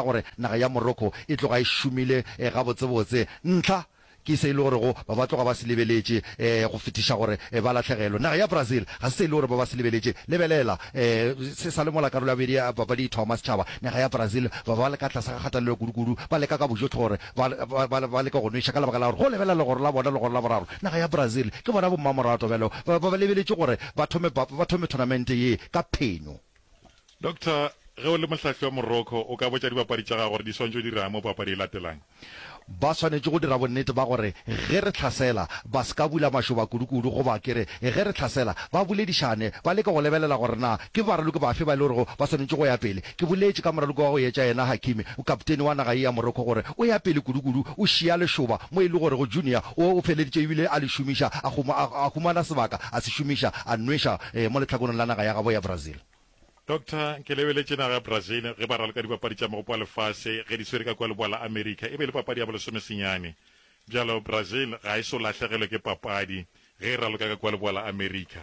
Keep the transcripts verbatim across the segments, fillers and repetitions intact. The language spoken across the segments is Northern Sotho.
Gore naga ya Morocco e tloga e šomile gabotsebotse. Ntlha ke se e le gorego ba ba tloga ba se lebeletše go fetiša gore ba lahlegelwe. Naga ya Brazil ga se se e le gore ba ba se lebeletše. Lebelela, se sa le mola karolo ya bobedi ya papadi e thoma, setšhaba, naga ya Brazil ba ba le ka tlase ga kgatelelo kudu-kudu, ba leka ka bojohle gore ba, ba, ba, ba leke go nweša ka lebaka la gore go lebelela legoro la bona, legoro la boraro, naga ya Brazil ke bona bommamorato bjalo ba, ba lebeletše gore ba thome, ba, ba thome thonamente ye ka phenyo. Doctor, ge o le mohlahli wa Morocco, o ka botša dibapadi tša gago gore di swanetše go dira'ng mo papadi e latelang? Ba swanetše go dira bonnete ba gore ge re hlasela, ba se ka bula mašoba kudu-kudu, goba ke re, ge re hlasela, ba boledišane, ba leke go lebelela gore na ke baraloki bafe ba e le gorego ba swanetše go ya pele. Ke boletše ka moraloki wa go etša yena Hakimi, kaptene wa naga ye ya Morocco, gore o ya pele kudu-kudu, o šia lešoba mo e le gorego Junior o o feleditše ebile a le šomiša, a a humana sebaka, a se šomiša, a nweša mo lehlakoreng la naga ya gabo ya Brazil. Doctor, ke lebeletše naga ya Brazil ge ba raloka dipapadi tša Mogopo wa Lefase ge di swere ka kua Leboa la Amerika. E be e le papadi ya bolesomesenyane. Bjalo Brazil ga e so lahlegelwe ke papadi ge e raloka ka kua Leboa la Amerika.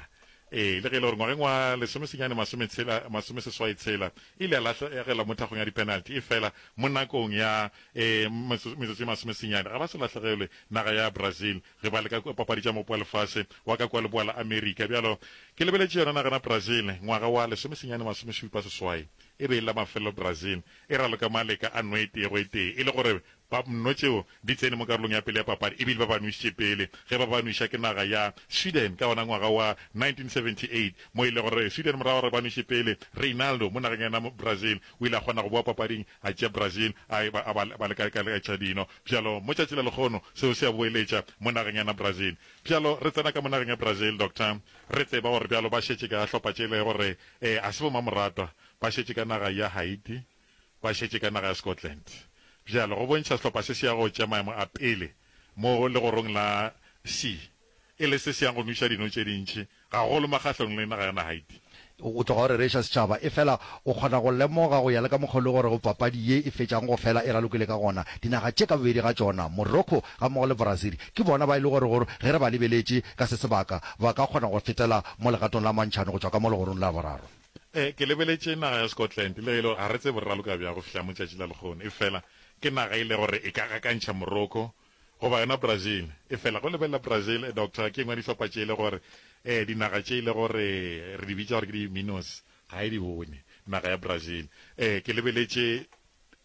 Ee, le ge e le gore ngwageng wa lesomesenyane masometshela, masomeseswai tshela e ile ya lahlegelwa mo thakgong ya dipenalty, efela mo nakong ya e, metsotso e masomesenyane ga ba so lahlegelwe naga ya Brazil ge ba leka papadi tša Mogopo wa Lefase wa ka kua Leboa la Amerika. Bjalo, ke lebeletše yona nagana Brazil, ngwaga wa lesomesenyane masomešupa seswai, e be e le la mafelelo Brazil e raloka maleka a nno e tee go e tee, e le gore ba nno tšeo di tsene mo karolong ya pele ya papadi, ebile ba ba nwišitše pele ge ba ba nwiša ke naga ya Sweden ka wona ngwaga wa nineteen seventy eight, mo e le gore Sweden morago gore ba nwiše pele Reinaldo mo nageng ya yona Brazil o ile a kgona go boa papading a tšea Brazil a e ba a ba ba leka ka tša dino. Bjalo mo tšatši la lekgono seo se a boeletša mo nageng ya na Brazil. Bjalo re tsena ka mo nageng ya Brazil, Doctor, re tseba gore bjalo ba šetše ka hlopha tše le gore eh a se bomamoratwa, ba šetše ka naga ya Haiti, ba šetše ka naga ya Scotland. Bjalo go bontšha sehlopha se se ya go tšea maemo a pele mo legorong la C e le se se yang go nweša dino tše dintši gagolo makgahlong le naga ya na Haiti. O tloga o rereša setšhaba, efela o kgona go lemoga go ya le ka mokgwa o le gorego papadi ye e fetšago go fela e ralokile ka gona. Dinaga tše ka bobedi ga tšona, Morocco gammogo le Brazil, ke bona ba e le gorego ge re ba lebeletše ka se sebaka, ba ka kgona go fetela mo legatong la mantšhane go tšwa ka mo legorong la boraro. Ee, ke lebeletše naga ya Scotland, le ge e le gore ga re tsebe re raloka bjang go fihla mo tšatši la lehono, efela ke naga e le gore e ka gakantšha Morocco goba yona Brazil. Efela go lebelela Brazil, Doctor, ke engwe ya dihlopha tše e le gore eh, dinaga tše e le gore re di bitša gore ke di-minnows, ga e di bone naga ya Brazil. Eh, ke lebeletše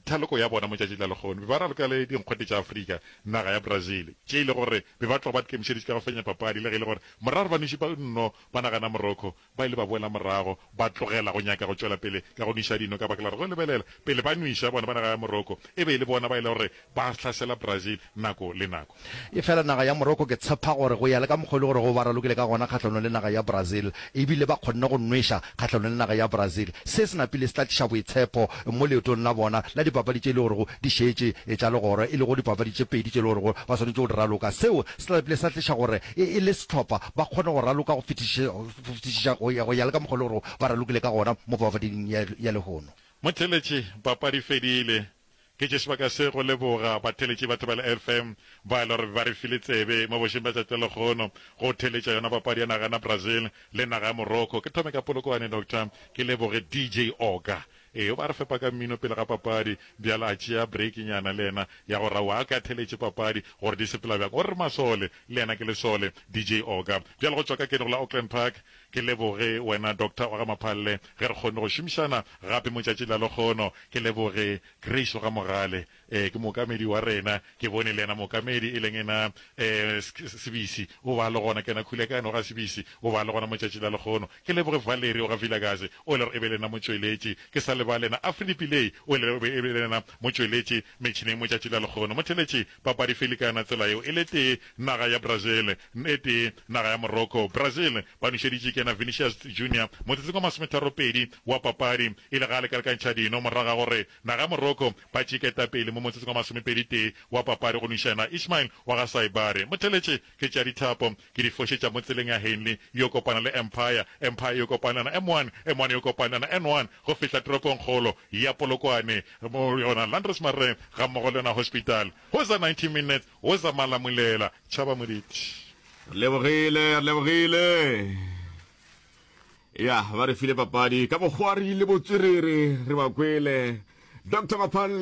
thaloko ya bona mo tšatšing la lehono, be ba raloka le dinkgwete tša Afrika, naga ya Brazil, tše e le gore be ba tloga ba ikemišeditše ka go fenya papadi, le ge e le gore morago ba nweše ba nno ba nagana Morocco, ba ile ba boela morago, ba tlogela go nyaka go tšwela pele ka go nweša dino ka baka la gore go lebelela pele ba nweša bona ba naga ya Morocco, e be e le bona ba e le gore ba hlasela Brazil nako le nako. Efela naga ya Morocco ke tshepa gore go ya le ka mokgwa e le gore go ba ralokile ka gona kgahlanong le naga ya Brazil, ebile ba kgonne go nweša kgahlanong le naga ya Brazil, se se napile se tla tliša boitshepo mo leetong la bona la dipapadi tše e le gorego di šetše tša legoro, e lego dipapadi tše pedi tše e le gorego ba swanetše go di raloka. Seo se tla napile sa tliša gore e le sehlopha ba kgone go raloka go fetišiša go ya le ka mokgwa e le gorego ba ralokile ka gona mo papading ya lehono. Motheeletši, Papadi fedile. Ke tše sebaka se go leboga batheeletši ba Thobela F M ba e le gore ba re file tsebe mo bošeng bja tšatši la lehono go theeletša yona papadi ya naga ya Brazil le naga ya Morocco. Ke thome ka Polokwane, Doctor, ke leboge D J Oga. Ee, o ba re fepa ka mmino pele ga papadi, bjale a tšea break nyana le yena ya gore aowa a ke a theeletše papadi gore di sepela bjang. O re re masole, le yena ke lesole, D J Oga. Bjale go tšwa ka keno go la Auckland Park, ke leboge wena Doctor wa ga Maphalle ge re kgonne go šomišana gape mo tšatšing la lehono. Ke leboge Grace wa ga Mogale, ee, ke mookamedi wa rena. Ke bone le yena mookamedi, e leng ena, ee, Sebisi, o ba le gona. Ke yena Khulekane wa ga Sebisi, o ba le gona mo tšatši la lehono. Ke leboge Valerie wa ga Vilakazi, o e le gore e be le yena motšweletši. Ke sa lebale yena Afridi Pillay, o e le gore e be le yena motšweletši metšhineng mo tšatši la lehono. Motheeletši, papadi felikana tsela yeo e le tee, naga ya Brazil, e tee, naga ya Morocco. Brazil ba nošeditše ke yena Vinicius Junior motsotsong wa masometharopedi wa papadi, e le ga a lekalekantšha dino morago ga gore naga ya Morocco ba tšee ketapele mo motsotsong wa masomepedi-tee wa papadi go nweša yena Ismail wa ga Saibari. Motheeletše, ke tšea dithapo ke di fošetša mo tseleng ya Henley yo kopana le Empire, Empire yo kopana le yona M one, M one yo kopana le yona N one go fihla toropongkgolo ya Polokwane mo yona Landres Marais gammogo le yona Hospital. Woza ninety minutes, woza Malamulela, tšhaba Moditi. Re lebogile, re lebogile. Ya, ba re file papadi ka bokgwari le botswerere, re ba kwele. Doctor Maphalle.